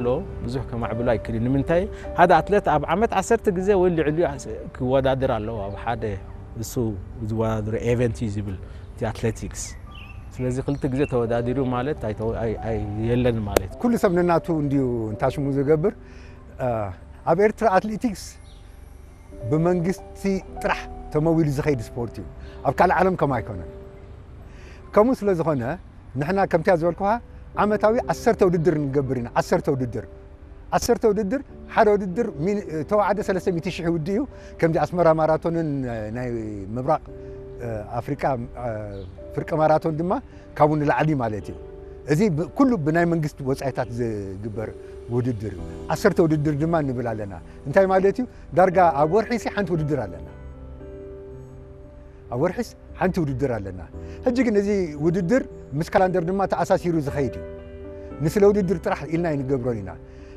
ኣሎ፣ ብዙሕ ከማዕብሎ ኣይክእልን። ንምንታይ? ሓደ ኣትሌት ኣብ ዓመት ዓሰርተ ግዜ ወይ ልዕሊኡ ክወዳደር ኣለዎ ኣብ ሓደ እሱ ዝወዳደሮ ኤቨንት እዩ ዝብል እቲ ኣትሌቲክስ። ስለዚ ክልተ ግዜ ተወዳዲሩ ማለት ኣይተወ-፣ ኣይ-፣ ኣይ-፣ የለን ማለት። ኩሉ ሰብ ነናቱ እንዲዩ እንታሽሙ ዝገብር። እ፣ ኣብ ኤርትራ ኣትሌቲክስ ብመንግስቲ ጥራሕ ተመዊሉ ዝኸይድ ስፖርት እዩ። ኣብ ካልእ ዓለም ከም ኣይኮነን። ከምኡ ስለ ዝኾነ ንሕና ከምቲያ ዝበልኩኻ ዓመታዊ ዓሰርተ ውድድር ንገብር ኢና። ዓሰርተ ውድድር፣ ዓሰርተ ውድድር፣ ሓደ ውድድር ሚን-፣ ተዋዓደ ሰለስተ ሚእቲ ሽሕ ውዲ እዩ። ከምዚ ኣስመራ ማራቶንን ናይ ምብራቕ ኣፍሪቃ ፍርቂ ማራቶን ድማ ካብኡ ንላዕሊ ማለት እዩ። እዚ ብ-፣ ኩሉ ብናይ መንግስቲ ወጻኢታት ዝግበር ውድድር እዩ። ዓሰርተ ውድድር ድማ ንብል ኣለና። እንታይ ማለት እዩ? ዳርጋ ኣብ ወርሒ ሲ ሓንቲ ውድድር ኣለና። ኣብ ወርሒስ ሓንቲ ውድድር ኣለና። ሕጂ ግን እዚ ውድድር ምስ ካላንደር ድማ ተኣሳሲሩ ዝኸይድ እዩ። ንስለ ውድድር ጥራሕ ኢልና ኣይንገብሮን ኢና።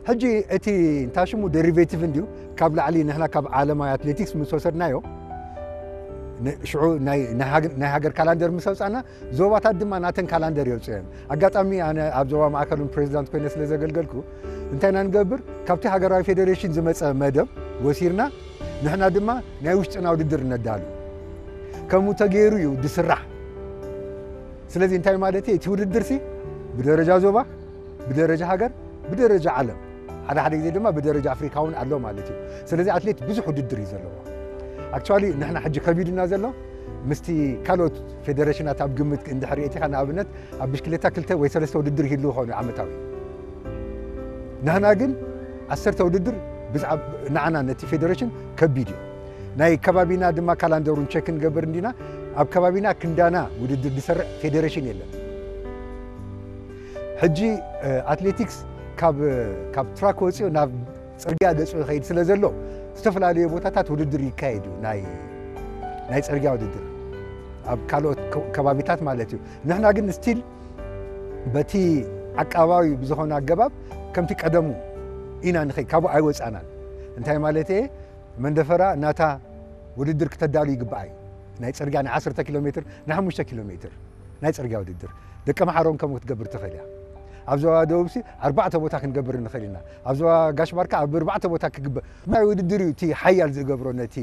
ሕጂ እቲ እንታይ ሽሙ ደሪቬቲቭ እንድዩ፣ ካብ ላዕሊ ንሕና ካብ ዓለማዊ ኣትሌቲክስ ምስ ወሰድናዮ፣ ን-፣ ሽዑ ናይ፣ ናይ ሃገ-፣ ናይ ሃገር ካላንደር ምስ ኣውጻና፣ ዞባታት ድማ ናተን ካላንደር የውጽኦ እየን። ኣጋጣሚ ኣነ ኣብ ዞባ ማእከል እውን ፕሬዚዳንት ኮይነ ስለ ዘገልገልኩ፣ እንታይ ኢና ንገብር? ካብቲ ሃገራዊ ፌዴሬሽን ዝመጸ መደብ ወሲድና፣ ንሕና ድማ ናይ ውሽጥና ውድድር ነዳሉ። ከምኡ ተገይሩ እዩ ዝስራሕ። ስለዚ እንታይ ማለት እዩ? እቲ ውድድር ሲ ብደረጃ ዞባ፣ ብደረጃ ሃገር፣ ብደረጃ ዓለም፣ ሓደ ሓደ ግዜ ድማ ብደረጃ ኣፍሪካ እውን ኣሎ ማለት እዩ። ስለዚ ኣትሌት ብዙሕ ውድድር እዩ ዘለዎ። ኣክቹዋሊ ንሕና ሕጂ ከቢዱና ዘሎ ምስቲ ካልኦት ፌዴሬሽናት ኣብ ግምት እንድሕር ሪእቲኻ፣ ንኣብነት ኣብ ብሽክሌታ ክልተ ወይ ሰለስተ ውድድር ይህልው ይኾኑ ዓመታዊ። ንሕና ግን ዓሰርተ ውድድር ብዛዕባ ንዓና ነቲ ፌዴሬሽን ከቢድ እዩ። ናይ ከባቢና ድማ ካላንደሩን ቸክ ንገብር እንዲና፣ ኣብ ከባቢና ክንዳና ውድድር ዝሰርዕ ፌዴሬሽን የለን። ሕጂ፣ እ፣ ኣትሌቲክስ ካብ፣ ካብ ትራክ ወፂኡ ናብ ፅርግያ ገፁ ይኸይድ ስለ ዘሎ፣ ዝተፈላለዩ ቦታታት ውድድር ይካየድ እዩ። ናይ፣ ናይ ፅርግያ ውድድር ኣብ ካልኦት ከ-፣ ከባቢታት ማለት እዩ። ንሕና ግን ስቲል በቲ ዓቃባዊ ብዝኾነ ኣገባብ ከምቲ ቀደሙ ኢና ንኸይድ፣ ካብኡ ኣይወፃናን። እንታይ ማለት እየ? መንደፈራ ናታ ውድድር ክተዳሉ ይግባኣ እዩ። ናይ ፅርግያ ናይ ዓሰርተ ኪሎ ሜትር፣ ናይ ሓሙሽተ ኪሎ ሜትር ናይ ፅርግያ ውድድር። ደቀ መሓሮን ከምኡ ክትገብር ትኽእል እያ። ኣብ ዞባ ደቡብ ሲ ኣርባዕተ ቦታ ክንገብር ንኽእል ኢና። ኣብ ዞባ ጋሽ ባርካ ኣብ ኣርባዕተ ቦታ ክግበር። ናይ ውድድር እዩ እቲ ሓያል ዝገብሮ ነቲ፣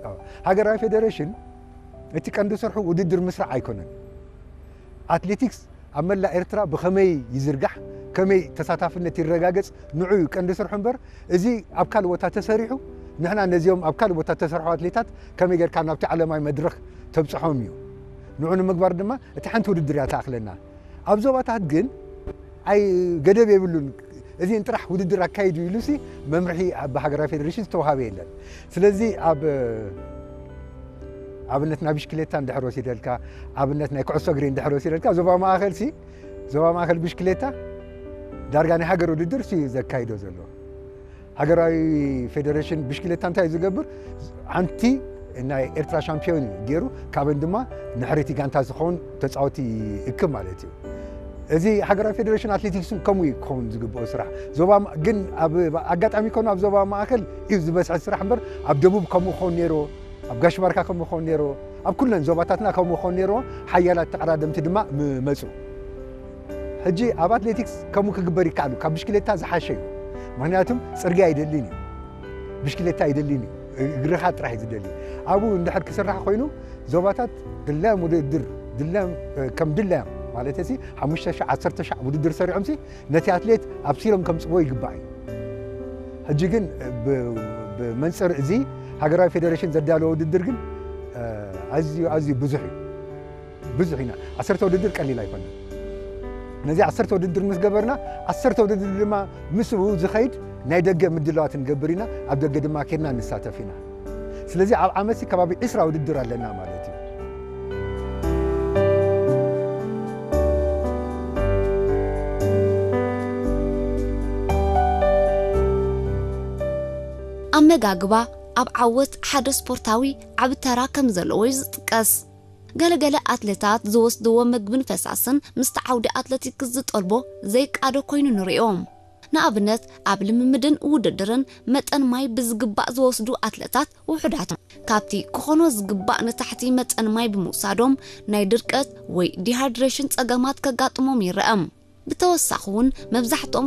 ኣዎ። ሃገራዊ ፌዴሬሽን እቲ ቀንዲ ስርሑ ውድድር ምስራዕ ኣይኮነን። ኣትሌቲክስ ኣብ መላእ ኤርትራ ብኸመይ ይዝርጋሕ፣ ከመይ ተሳታፍነት ይረጋገጽ፣ ንዑ እዩ ቀንዲ ስርሑ እምበር፣ እዚ ኣብ ካልእ ቦታ ተሰሪሑ፣ ንሕና ነዚኦም ኣብ ካልእ ቦታ ተሰርሑ ኣትሌታት ከመይ ጌርካ ናብቲ ዓለማዊ መድረኽ ተብጽሖም እዩ። ንዑ ንምግባር ድማ እቲ ሓንቲ ውድድር እያ ትኣኽለና። ኣብ ዞባታት ግን ኣይ ገደብ የብሉን። እዚን ጥራሕ ውድድር ኣካይዱ ኢሉሲ መምርሒ ኣብ ሃገራዊ ፌዴሬሽን ዝተዋሃበ የለን። ስለዚ ኣብ ኣብነት ናይ ብሽክሌታ እንድሕር ወሲደልካ፣ ኣብነት ናይ ኩዕሶ እግሪ እንድሕር ወሲደልካ፣ ዞባ ማእኸል ሲ፣ ዞባ ማእኸል ብሽክሌታ ዳርጋ ናይ ሃገር ውድድር ሲ ዘካይዶ ዘሎ። ሃገራዊ ፌዴሬሽን ብሽክሌታ እንታይ እዩ ዝገብር? ሓንቲ ናይ ኤርትራ ሻምፒዮን እዩ ገይሩ፣ ካብን ድማ ንሕሪቲ ጋንታ ዝኸውን ተጻወቲ ይእክብ ማለት እዩ። እዚ ሃገራዊ ፌዴሬሽን ኣትሌቲክስ እውን ከምኡ እዩ ክኸውን ዝግብኦ ስራሕ። ዞባ ማ-፣ ግን ኣብ ኣጋጣሚ ኮኑ ኣብ ዞባ ማእከል እዩ ዝበዝሐ ስራሕ እምበር፣ ኣብ ደቡብ ከምኡ ክኸውን ነይርዎ፣ ኣብ ጋሽ ባርካ ከምኡ ክኸውን ነይርዎ፣ ኣብ ኩለን ዞባታትና ከምኡ ክኸውን ነይርዎ። ሓያላት ተቐዳደምቲ ድማ ም-፣ መጹ። ሕጂ ኣብ ኣትሌቲክስ ከምኡ ክግበር ይከኣል እዩ፣ ካብ ብሽክሌታ ዝሓሸ እዩ። ምኽንያቱም ጽርግያ ኣይደልን እዩ፣ ብሽክሌታ ኣይደልን እዩ፣ እግርኻ ጥራሕ እዩ ዝደሊ። ኣብኡ እንድሕር ክስራሕ ኮይኑ ዞባታት ድላዮም ውድድር፣ ድላዮም፣ እ፣ ከም ድላዮም ማለት እዚ ሓሙሽተ ሻዕ፣ ዓሰርተ ሻዕ ውድድር ሰሪዖምሲ ነቲ ኣትሌት ኣብሲሎም ከምጽዎ ይግባእ እዩ። ሕጂ ግን ብ-፣ ብመንጽር እዚ ሃገራዊ ፌዴሬሽን ዘዳለዎ ውድድር ግን፣ እ፣ ኣዝዩ፣ ኣዝዩ ብዙሕ እዩ። ብዙሕ ኢና። ዓሰርተ ውድድር ቀሊል ኣይኮነን። ነዚ ዓሰርተ ውድድር ምስ ገበርና፣ ዓሰርተ ውድድር ድማ ምስኡ ዝኸይድ ናይ ደገ ምድላዋት ንገብር ኢና። ኣብ ደገ ድማ ኬድና ንሳተፍ ኢና። ስለዚ ኣብ ዓመትሲ ከባቢ ዕስራ ውድድር ኣለና ማለት እዩ። ኣመጋግባ ኣብ ዓወት ሓደ ስፖርታዊ ዓቢ ተራ ከም ዘለዎ እዩ ዝጥቀስ። ገለገለ ኣትሌታት ዝወስድዎ መግብን ፈሳስን ምስቲ ዓውዲ ኣትሌቲክስ ዝጠልቦ ዘይቃዶ ኮይኑ ንርእዮ። ንኣብነት፣ ኣብ ልምምድን ውድድርን መጠን ማይ ብዝግባእ ዝወስዱ ኣትሌታት ውሑዳት እዮም። ካብቲ ክኾኖ ዝግባእ ንታሕቲ መጠን ማይ ብምውሳዶም ናይ ድርቀት ወይ ዲሃይድሬሽን ጸገማት ከጋጥሞም ይረአ። ብተወሳኺ እውን መብዛሕትኦም